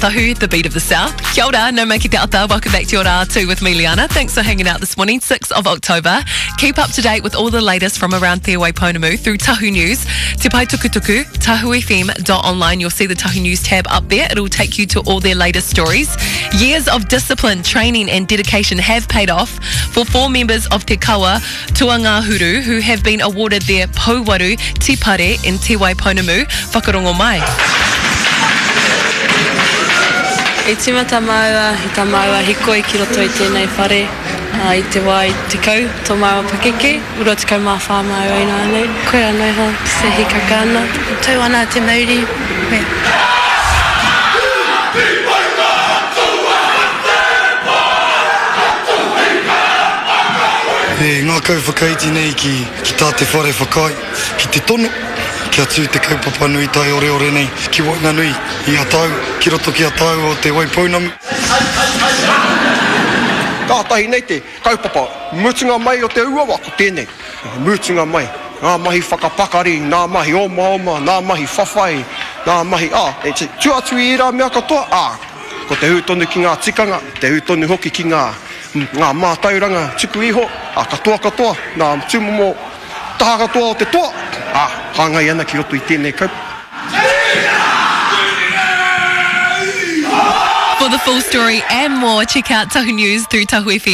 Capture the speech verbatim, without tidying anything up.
Tahu, the beat of the South. Kia ora, nau mai ki te ata. Welcome back to your Rā with me, Liana. Thanks for hanging out this morning, sixth of October. Keep up to date with all the latest from around Te Waipounamu through Tahu News, Te Pae Tukutuku, tahu f m dot online. You'll see the Tahu News tab up there. It'll take you to all their latest stories. Years of discipline, training and dedication have paid off for four members of Te Kawa Tuangahuru who have been awarded their Pouwaru Tipare in Te Waipounamu. Whakarongo mai. I tīmata māua, i tā māua hikoi ki roto i tēnei whare, uh, i te wā i tekau, tō māua pakeke, rua tekau mā whā māua ināianei. Koe anō iho, se hikaka ana. Tau ana te mauri. E ngākau whakaiti nei ki, ki tā te whare whakaae, ki te tono, kia tū te kaupapa nui tai oreore nei, ki waenganui i a tāu, ki roto ki a tāu o Te Waipounamu. Kātahi nei te kaupapa, mutunga mai o te uawa ko tēnei. Mutunga mai, ngā mahi whakapakari, ngā mahi omaoma, ngā mahi whawhai, ngā mahi, ā, e tu atu i ērā mea katoa, ā, ko te hū tonu ki ngā tikanga, te hū tonu hoki ki ngā, ngā mātauranga tuku iho, ā, katoa katoa, ngā tūmomo taha katoa o te toa, ā, hāngai ana ki roto i tēnei kaupapa. For the full story and more, check out Tahu News through Tahu F M.